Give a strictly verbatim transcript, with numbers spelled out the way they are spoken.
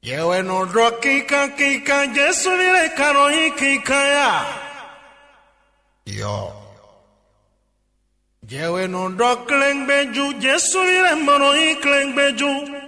Yɛ wɛ nɔ ɖɔ kinkan kinkan, Jesu ví lɛ́ɛ ka nɔ nyí kinkan ya. Yɔ. Yɛ wɛ nɔ ɖɔ klɛngbɛjú, Jesu ví lɛ́ɛ ma nɔ nyí klɛngbɛjú.